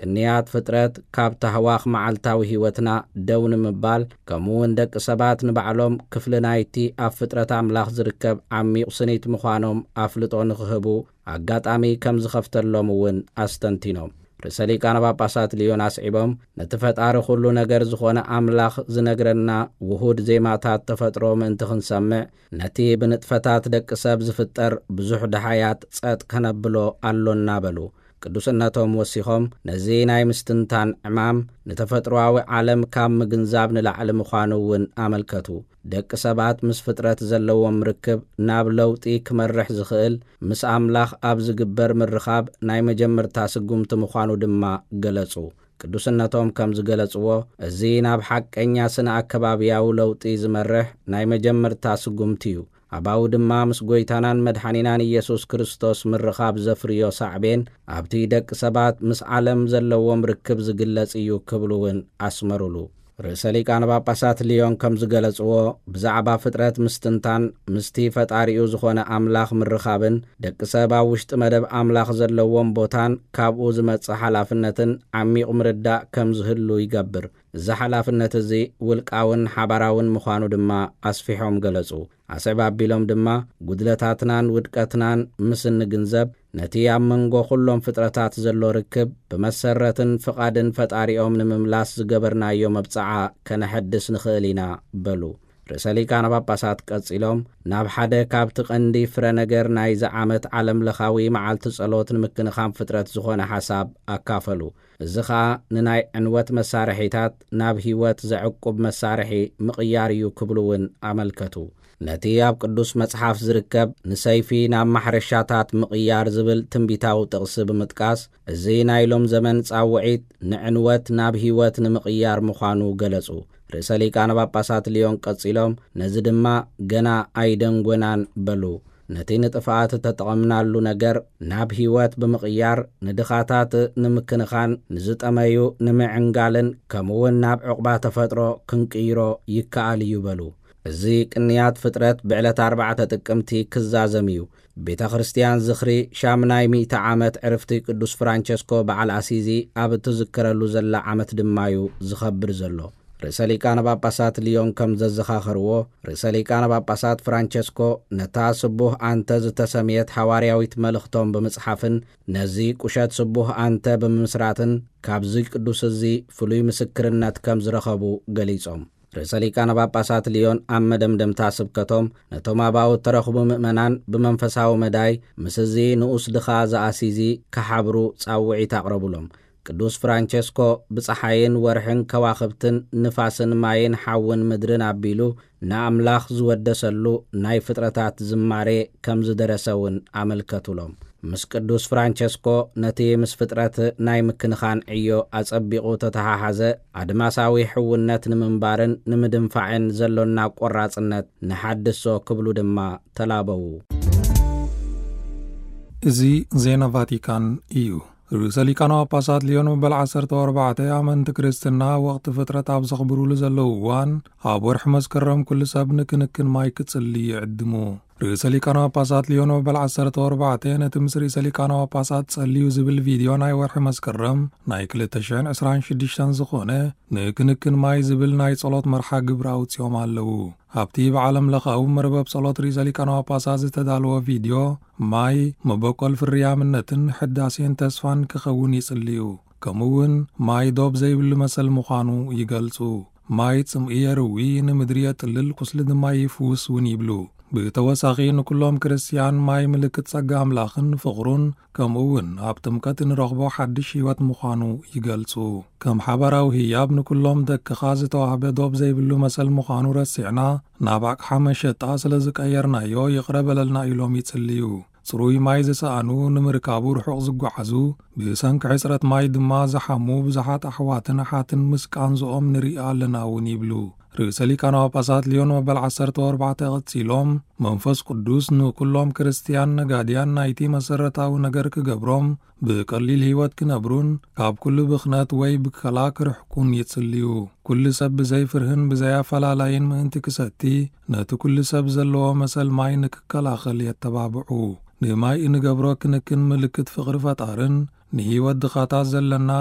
ቅንያት ፍጥረት ካብ ታህዋኽ መዓልታዊ ህይወትና ደው ንምባል፣ ከምኡ እውን ደቂ ሰባት ንባዕሎም ክፍሊ ናይቲ ኣብ ፍጥረት ኣምላኽ ዝርከብ ዓሚቕ ስኒት ምዃኖም ኣፍልጦ ንኽህቡ ኣጋጣሚ ከም ዝኸፍተሎም እውን ኣስተንቲኖም። ርእሰ ሊቃነ ጳጳሳት ልዮን ኣስዒቦም፣ ነቲ ፈጣሪ ኩሉ ነገር ዝኾነ ኣምላኽ ዝነግረና ውሁድ ዜማታት ተፈጥሮ ምእንቲ ክንሰምዕ፣ ነቲ ብንጥፈታት ደቂ ሰብ ዝፍጠር ብዙሕ ደሃያት ጸጥ ከነብሎ ኣሎና በሉ። ቅዱስነቶም ወሲኾም፣ ነዚ ናይ ምስትንታን ዕማም ንተፈጥሮኣዊ ዓለም ካብ ምግንዛብ ንላዕሊ ምዃኑ እውን ኣመልከቱ። ደቂ ሰባት ምስ ፍጥረት ዘለዎም ርክብ ናብ ለውጢ ክመርሕ ዝኽእል ምስ ኣምላኽ ኣብ ዝግበር ምርኻብ ናይ መጀመርታ ስጉምቲ ምዃኑ ድማ ገለጹ። ቅዱስነቶም ከም ዝገለጽዎ፣ እዚ ናብ ሓቀኛ ስነ ኣከባብያዊ ለውጢ ዝመርሕ ናይ መጀመርታ ስጉምቲ እዩ። ኣባኡ ድማ ምስ ጐይታናን መድሓኒናን ኢየሱስ ክርስቶስ ምርኻብ ዘፍርዮ ሳዕቤን ኣብቲ ደቂ ሰባት ምስ ዓለም ዘለዎም ርክብ ዝግለጽ እዩ ክብሉ እውን ኣስመሩሉ። ርእሰ ሊቃነ ጳጳሳት ልዮን ከም ዝገለጽዎ፣ ብዛዕባ ፍጥረት ምስትንታን ምስቲ ፈጣሪኡ ዝኾነ ኣምላኽ ምርኻብን ደቂ ሰብ ኣብ ውሽጢ መደብ ኣምላኽ ዘለዎም ቦታን ካብኡ ዝመጽእ ሓላፍነትን ዓሚቕ ምርዳእ ከም ዝህሉ ይገብር። እዚ ሓላፍነት እዚ ውልቃውን ሓባራውን ምዃኑ ድማ ኣስፊሖም ገለጹ። ኣስዕብ ኣቢሎም ድማ፣ ጉድለታትናን ውድቀትናን ምስ እንግንዘብ፣ ነቲ ኣብ መንጎ ኩሎም ፍጥረታት ዘሎ ርክብ ብመሰረትን ፍቓድን ፈጣሪኦም ንምምላስ ዝገበርናዮ መብጽዓ ከነሐድስ ንኽእል ኢና በሉ። ርእሰ ሊቃነ ጳጳሳት ቀጺሎም፣ ናብ ሓደ ካብቲ ቀንዲ ፍረ ነገር ናይዚ ዓመት ዓለም ለኻዊ መዓልቲ ጸሎት ንምክንኻን ፍጥረት ዝኾነ ሓሳብ ኣካፈሉ። እዚ ኸኣ ንናይ ዕንወት መሳርሒታት ናብ ህይወት ዘዕቁብ መሳርሒ ምቕያር እዩ ክብሉ እውን ኣመልከቱ። ነቲ ኣብ ቅዱስ መጽሓፍ ዝርከብ ንሰይፊ ናብ ማሕረሻታት ምቕያር ዝብል ትንቢታዊ ጥቕሲ ብምጥቃስ፣ እዚ ናይ ሎም ዘመን ጻውዒት ንዕንወት ናብ ህይወት ንምቕያር ምዃኑ ገለጹ። ርእሰ ሊቃነ ጳጳሳት ልዮን ቀጺሎም፣ ነዚ ድማ ገና ኣይደንጎናን በሉ። ነቲ ንጥፍኣት እተጠቐምናሉ ነገር ናብ ህይወት ብምቕያር፣ ንድኻታት ንምክንኻን፣ ንዝጠመዩ ንምዕንጋልን፣ ከምኡውን ናብ ዕቑባ ተፈጥሮ ክንቅይሮ ይከኣል እዩ በሉ። እዚ ቅንያት ፍጥረት ብዕለት ኣርባዕተ ጥቅምቲ ክዛዘም እዩ። ቤተ ክርስቲያን ዝኽሪ ሻምናይ ሚእቲ ዓመት ዕርፍቲ ቅዱስ ፍራንቸስኮ በዓል ኣሲዚ ኣብ እትዝከረሉ ዘላ ዓመት ድማ እዩ ዝኸብር ዘሎ። ርእሰ ሊቃነ ጳጳሳት ልዮን ከም ዘዘኻኸርዎ፣ ርእሰ ሊቃነ ጳጳሳት ፍራንቸስኮ ነታ ስቡህ ኣንተ ዝተሰምየት ሃዋርያዊት መልእኽቶም ብምጽሓፍን ነዚ ቁሸት ስቡህ ኣንተ ብምምስራትን ካብዚ ቅዱስ እዚ ፍሉይ ምስክርነት ከም ዝረኸቡ ገሊጾም። ርእሰ ሊቃነ ጳጳሳት ልዮን ኣብ መደምደምታ ስብከቶም፣ ነቶም ኣባኡ እተረኽቡ ምእመናን ብመንፈሳዊ መዳይ ምስ እዚ ንኡስ ድኻ ዘኣሲዚ ክሓብሩ ጻውዒት ኣቕረቡሎም። ቅዱስ ፍራንቸስኮ ብጸሓይን ወርሕን ከዋኽብትን ንፋስን ማይን ሓውን ምድርን ኣቢሉ ንኣምላኽ ዝወደሰሉ ናይ ፍጥረታት ዝማሬ ከም ዝደረሰ እውን ኣመልከቱሎም። ምስ ቅዱስ ፍራንቸስኮ ነቲ ምስ ፍጥረት ናይ ምክንኻን ዕዮ ኣጸቢቑ ተተሓሓዘ ኣድማሳዊ ሕውነት ንምንባርን ንምድንፋዕን ዘሎና ቆራጽነት ንሓድሶ ክብሉ ድማ ተላበዉ። እዚ ዜና ቫቲካን እዩ። ርእሰ ሊቃነ ጳጳሳት ልዮን መበል ዓሰርተ ኣርባዕተ ኣመንቲ ክርስትና ወቕቲ ፍጥረት ኣብ ዘኽብሩሉ ዘለዉ እዋን፣ ኣብ ወርሒ መስከረም ኩሉ ሰብ ንክንክን ማይ ክጽሊ ይዕድሙ። ርእሰ ሊቃነ ጳጳሳት ልዮን መበል ዓሰርተ ኣርባዕተ ነቲ ምስ ርእሰ ሊቃነ ጳጳሳት ጸልዩ ዝብል ቪድዮ ናይ ወርሒ መስከረም ናይ ክልተ ሽሕን ዕስራን ሽዱሽተን ዝኾነ ንክንክን ማይ ዝብል ናይ ጸሎት መርሓ ግብሪ ኣውጺኦም ኣለዉ። ኣብቲ ብዓለም ለኻዊ መርበብ ጸሎት ርእሰ ሊቃነ ጳጳሳት ዝተዳለወ ቪድዮ፣ ማይ መበቆል ፍርያምነትን ሕዳሴን ተስፋን ክኸውን ይጽልዩ። ከምኡ እውን ማይ ዶብ ዘይብሉ መሰል ምዃኑ ይገልጹ። ማይ ጽምኢ የርዊ፣ ንምድሪ የጥልል፣ ቁስሊ ድማ ይፍውስ እውን ይብሉ። ብተወሳኺ ንኩሎም ክርስትያን ማይ ምልክት ጸጋ ኣምላኽን ፍቕሩን፣ ከምኡ እውን ኣብ ጥምቀት እንረኽቦ ሓድሽ ህይወት ምዃኑ ይገልጹ። ከም ሓባራዊ ህያብ ንኩሎም ደቅኻ ዝተዋህበ ዶብ ዘይብሉ መሰል ምዃኑ ረሲዕና፣ ናብ ኣቕሓ መሸጣ ስለ ዝቀየርናዮ ይቕረ በለልና ኢሎም ይጽልዩ። ጽሩይ ማይ ዝሰኣኑ፣ ንምርካቡ ርሑቕ ዝጓዓዙ፣ ብሰንኪ ሕጽረት ማይ ድማ ዝሓሙ ብዙሓት ኣሕዋትን ኣሓትን ምስ ቃንዝኦም ንርኢ ኣለና እውን ይብሉ። ርእሰ ሊቃነ ጳጳሳት ልዮን መበል ዓሰርተ ኣርባዕተ ቀጺሎም፣ መንፈስ ቅዱስ ንኩሎም ክርስትያን ነጋድያን ናይቲ መሰረታዊ ነገር ክገብሮም፣ ብቀሊል ህይወት ክነብሩን ካብ ኩሉ ብኽነት ወይ ብከላ ክርሕቁን ይጽልዩ። ኩሉ ሰብ ብዘይ ፍርህን ብዘይ ኣፈላላይን ምእንቲ ክሰቲ፣ ነቲ ኩሉ ሰብ ዘለዎ መሰል ማይ ንክከላኸል የተባብዑ። ንማይ እንገብሮ ክንክን ምልክት ፍቕሪ ፈጣርን ንህይወት ድኻታት ዘለና